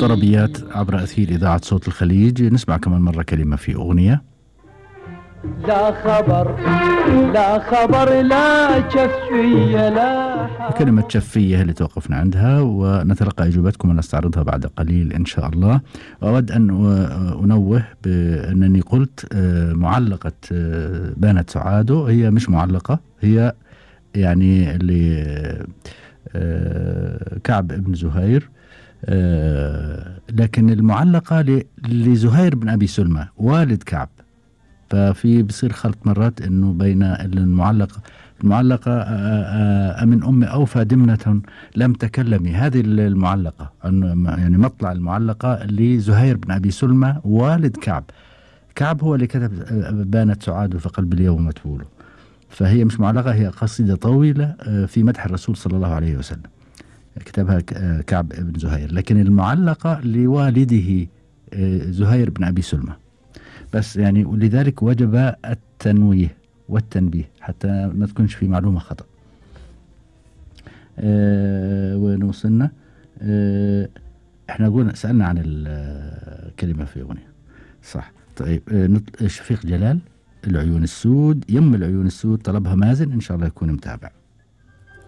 طربيات عبر أثير إذاعة صوت الخليج. نسمع كمان مرة كلمة في أغنية. لا خبر لا خبر لا شفية لا حبر. كلمة شفية اللي توقفنا عندها، ونتلقى إجابتكم ونستعرضها بعد قليل إن شاء الله. وأود أن أنوه بأنني قلت معلقة بانت سعاده، هي مش معلقة، هي يعني اللي كعب بن زهير، لكن المعلقة لزهير بن أبي سلمى والد كعب. ففي بصير خلط مرات إنه بين المعلقة أمن أم أوفى دمنة لم تكلمي، هذه المعلقة يعني مطلع المعلقة لزهير بن أبي سلمى والد كعب. كعب هو اللي كتب بانت سعاده في قلب اليوم متبوله، فهي مش معلقة، هي قصيدة طويلة في مدح الرسول صلى الله عليه وسلم، كتبها كعب بن زهير، لكن المعلقة لوالده زهير بن أبي سلمى بس يعني، ولذلك وجب التنويه والتنبيه حتى ما تكونش في معلومة خطأ. وين وصلنا؟ احنا قلنا سألنا عن الكلمة في أغنية صح. طيب شفيق جلال العيون السود، يم العيون السود طلبها مازن، إن شاء الله يكون متابع.